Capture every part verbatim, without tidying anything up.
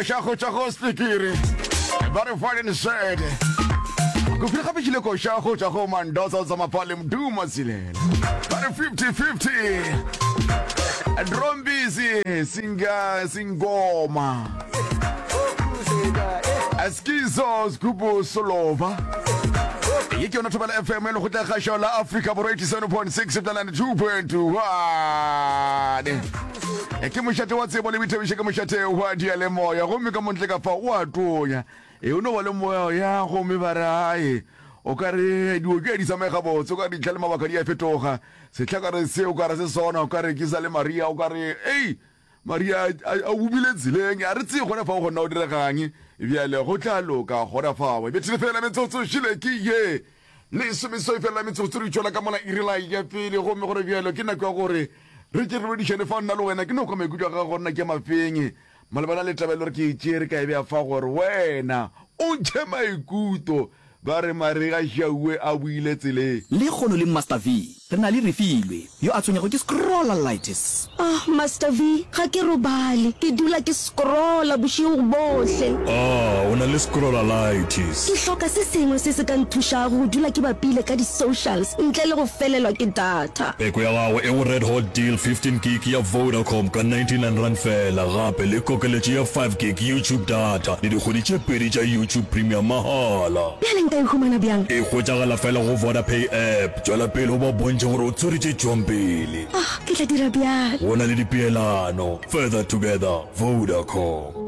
Koša go tšwa go Spikiri ba re Foreign Said. Go fihla gape tšile koša go tšwa go Mandoza tsa Mapale Mduma Silela ba re fifty fifty. Drombizi singa singoma Askizo Sgubu Solova. Ye ke yona Thobela F M e lekgotla kgašo la Afrika Borwa, eighty-seven point six ninety-two point one. Ke mošate wa tsebo le boithabišo, ke mošate wa dialemoya, gomme ka montle ka fa o a tonya e o no ba le moya ya, gomme ba re ae o ka re dio ke di tsamaye gabotse, o ka re ditlha le mabaka di a fetoga. Setlhakare se o ka re se sona, o ka re ke sa le Maria, o ka re ei Maria a bumile tseleng, a re tseye gona fao gona o diregang. Bjale go tla loka gona fao. Bethile fela metsotso šile ke ye lesomesoi fela metsotso re tšwela ka mola irela ya pele, gomme gore bjalo ke nako ya gore re ke re bodišane fa nna le wena. Ke no kwa maikutlo a gago nna ke mafeng malebana le taba e le gore ke e tšere ka e beya fa gore wena o ntšhe maikutlo. Ba re marega šauwe a buile tseleng. Le kgono le Master V re na le Refilwe yo a tshwenyago ke scrollalitis. Oh, Master V, ga ke robale. Ke dula ke scrolla bošego bohle. Ah, o na le scrollalitis. Ke hloka se sengwe se se ka nthušago go dula ke bapile ka di-socials ntle le go felelwa ke data. Peko ya gago e go Red Hot Deal fifteen gig ya Vodacom ka ninety-nine rand fela, gape le kokeletšo ya five gig YouTube data le dikgwedi tše pedi tša YouTube Premium mahala. Bjale nka e humana bjang? E hwetšagala fela go Vodapay app. Tšwela pele o ba bontšhe gore o tshwere tše tšwang pele. Ah, ke tla dira bjalo. Go na le dipeelano. Further together, Vodacom.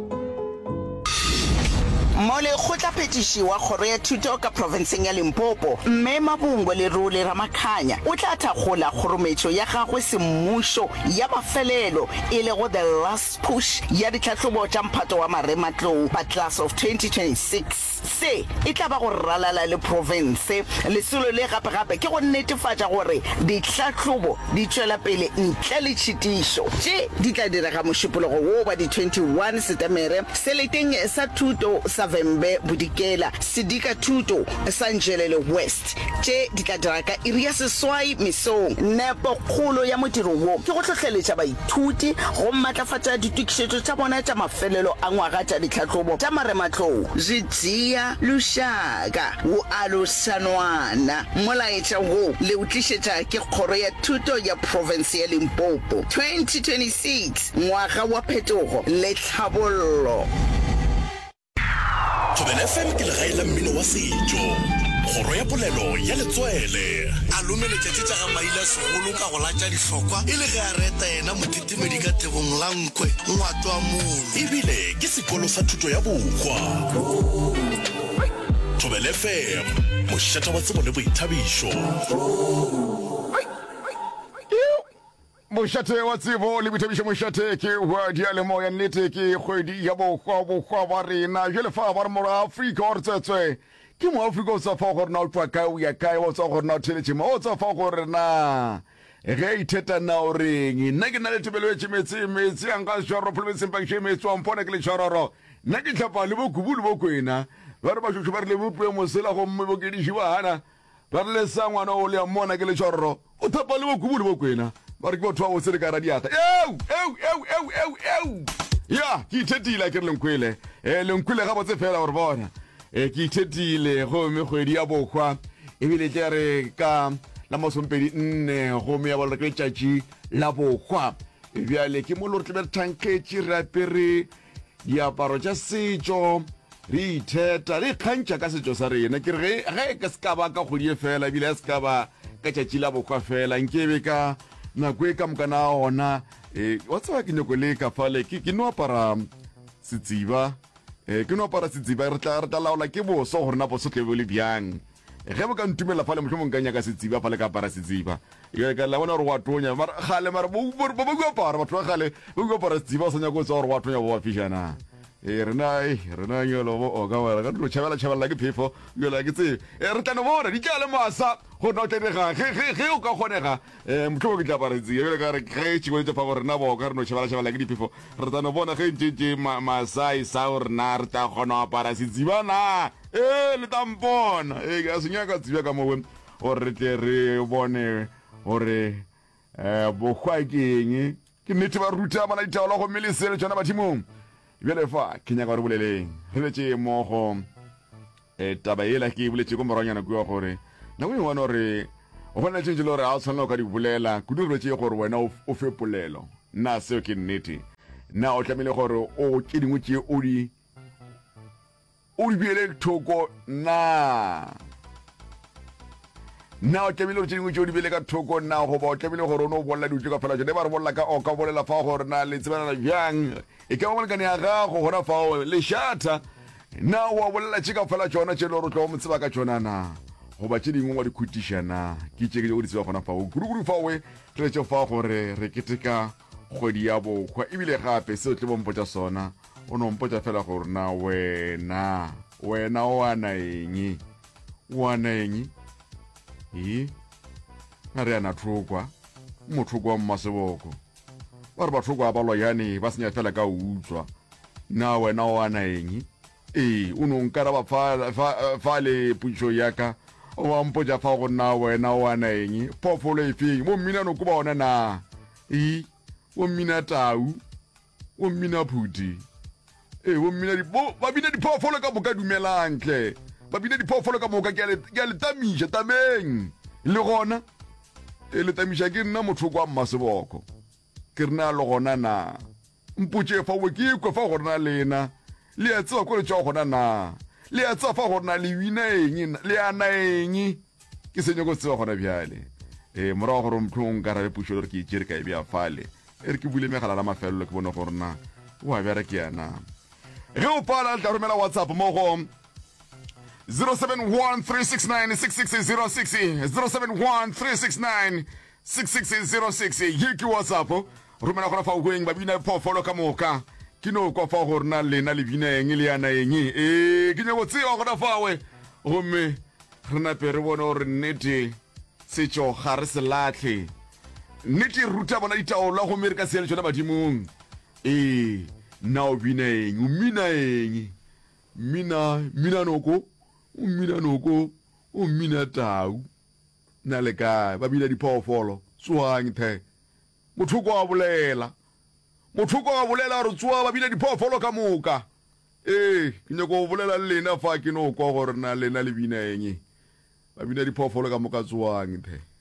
Molekgotlaphethiši wa Kgoro ya Thuto ka profenseng ya Limpopo, Mme Mabungwe Lerole Ramakhanya, o tla thakgola kgorometšo ya gagwe semmušo ya mafelelo, e lego The Last Push ya ditlhahlobo tša mphato wa marematlou ba Class of twenty twenty-six. Se e tla ba go ralala le profense. Lesolo le gape-gape ke go netefatša gore ditlhahlobo di tšwela pele ntle le tšhitišo. Tše di tla direga Mošupologo wo wa di twenty-one Setemere seleteng sa thuto sa Vhembe Bodikela, sedika thuto sa Nzhelele West. Tše di tla dira ka iri ya seswai mesong. Nepokgolo ya modiro wo ke go hlohleletša baithuti go matlafatša ditokišetšo tša bona tša mafelelo a ngwaga tša ditlhahlobo tša marematlou. Zwi dzhia lushaka wu alusa nwana. Molaetša wo le o tlišetša ke Kgoro ya Thuto ya Profense ya Limpopo. twenty twenty-six, ngwaga wa phetogo le tlhabollo. Thobela F M ke legae la mmino wa setšo, kgoro ya polelo ya letswele. A lomeletša tše tša ga Maila segolo ka go latša dihlokwa e le ge a reta yena motetemedi ka thebong la nkwe ngwato wa mono. Ebile ke sekolo sa thuto ya bohwa. Thobela F M, mošate wa tsebo le boithabišo. Mošate wa tsebo le boithabišo, mošate ke wa dialemoya. Nnete ke kgwedi ya bohwa, bohwa ba rena. Jale fa ba re mora Afrika wa re tswetswe ke mo Afrika, o tswa fa gore na o tswa kae, o ya kae, o tswa gore na o theletše mo, o tswa fa gore na ge itheta na o reng. Nna ke na le tebelo e tšemetse metse yang ga šoro provinceng pakše metse wa mpona ke le tšhororo. Nna ke tlhapa le bokubu le bokwena, ba re bašošo ba re le bopue mosela, gomme bokediši ba gana ba re le sa ngwana o le ya mmona ke le tšhororo, o thapa le bokubu le bokwena, ba re ke batho ba botse le ka radiata. Eu eu eu eu eu eu, ya ke ithetile ke re lenkwele e lenkwele gabotse fela gore bona e ke ithetile. Gomme kgwedi ya bohwa ebile tle re ka la masompedi nne, gomme ya bolora ke letšatši la bohwa. Bjale ke mo le gore tlebe re thankgetše, re apere diaparo tša setšo, re itheta, re ikgantšha ka setšo sa rena. Ke re ge ge ke se ka ba ka kgwedi e fela, ebile ya se ka ba ka tšatši la bohwa fela, nkebe ka nako e ka mokana ona. E wa tseba ke nyako le ka fale ke ke no apara setsiba, e ke no apara setsiba. Re tla re tla laola ke boso gore na boso tle bo le bjang. Ge bo ka ntumela fale, mohlomong ka nyaka setsiba fale, ka apara setsiba. Ka la bona gore wa tonya mara gale mara bo ba ba apara, batho ba gale ba go apara setsiba, o sa nyaka o tswa gore wa tonya, bo ba fišana. E rena e rena nyolo bo o ka wela ka dilo tšhabela tšhabela ke phefo yola ke tsebe. E re tla no bona di tla le masa gore na o tla direga ge ge ge o ka kgonega. um mohlomong ke tla apara setsiba bjale ka re ge tšhiboletse fa gore rena boka re no tšhabela tšhabela ke diphefo. Re tla no bona ge ntše ntše masai sa gore na re tla kgona go apara setsiba na. Ee, le tla mpona ee, ke a se nyaka tsibja ka mowe gore re tle re bone gore um bohwa ke eng. Ke nnete ba ruta bana ditaolo, gomme le se le tšona bathimong. Bjale fa ke nyaka gore boleleng re letše mmogo e taba yela ke e boletše ko moragonyana kua gore nako e nngwe gore go na le tše ntši le gore ga o tshwanela o ka di bolela kudu re boletše gore wena o fe polelo. Na seo ke nnete? Na o tlamehile gore o tše dingwe tše o di o di beele thoko na? Na o tlamehile gore tše dingwe tše o di beele ka thoko na, goba o tlamehile gore o no bolela dilo tše ka fela tšona? E ba re bolela ka o ka bolela fa gore na le tsebanana bjang, e ka ba molekane ya gago gona fao lešata, na wa bolela tše ka fela tšona tše le gore o tlo mo tseba ka tšona na, goba tše dingwe wa di khutiša na? Ke tše ke nyako di tseba gona fao kudu-kudu fao re letše fa gore re keteka kgwedi ya bohwa ebile gape seo tle bompotša sona o no mpotša fela gore na wena wena o ana eng o ana eng e na re ana thokwa mothoko wa mmaseboko ba re bathoko ba loyane ba senya fela ka utswa na wena o ana eng ee o no nkaraba fa, fa, fa le potšišo ya ka wa mpotša fa go na wena o ana eng phoofolo e feng bo mmina noko ba ona na e bo mmina tau bo mmina phuti ee bo mmina bo ba bina diphoofolo ka moka dumelang tle ba bina diphoofolo ka moka ke a le tamiša tameng le gona e le tamiša ke nna mothoko wa mmaseboko ke re na le gona na mpotše fa we ke kwe fa gore na lena le a tseba ko le tšwa gona na le a tseba fa gore na le bina eng le ana eng ke se nyako tseba gona bjale e morago gore motho o nkarabe pušo le gore ke e tšere ka e bea fale e re ke bule megala la mafelelo ke bone gore na o a bjara ke yana ge o pala le tla romela whatsapp mo go zero seven one three six nine six six zero six zero seven one three six nine six six zero six ye ke whatsapp romela gona fa o kweng ba bina phoofolo ka moka ke no kwa fa gore na lena le bina eng le yana eng ee ke nyako tseba gona fawe gomme re nape re bone gore nnete setšo ga re se lahle nnete e ruta bona ditaola gomme re ka se ya le tšona badimong ee na o bina eng o mmina eng mmina mmina noko o mmina noko o mmina tau na le kae ba bina diphoofolo tsoang the mothoko a bolela mothoko a bolela gore tsoa ba bina diphoofolo ka moka ee ke nyako go bolela le lena fa ke no kwa gore na lena le bina eng ba bina diphoofolo ka moka tsoang the.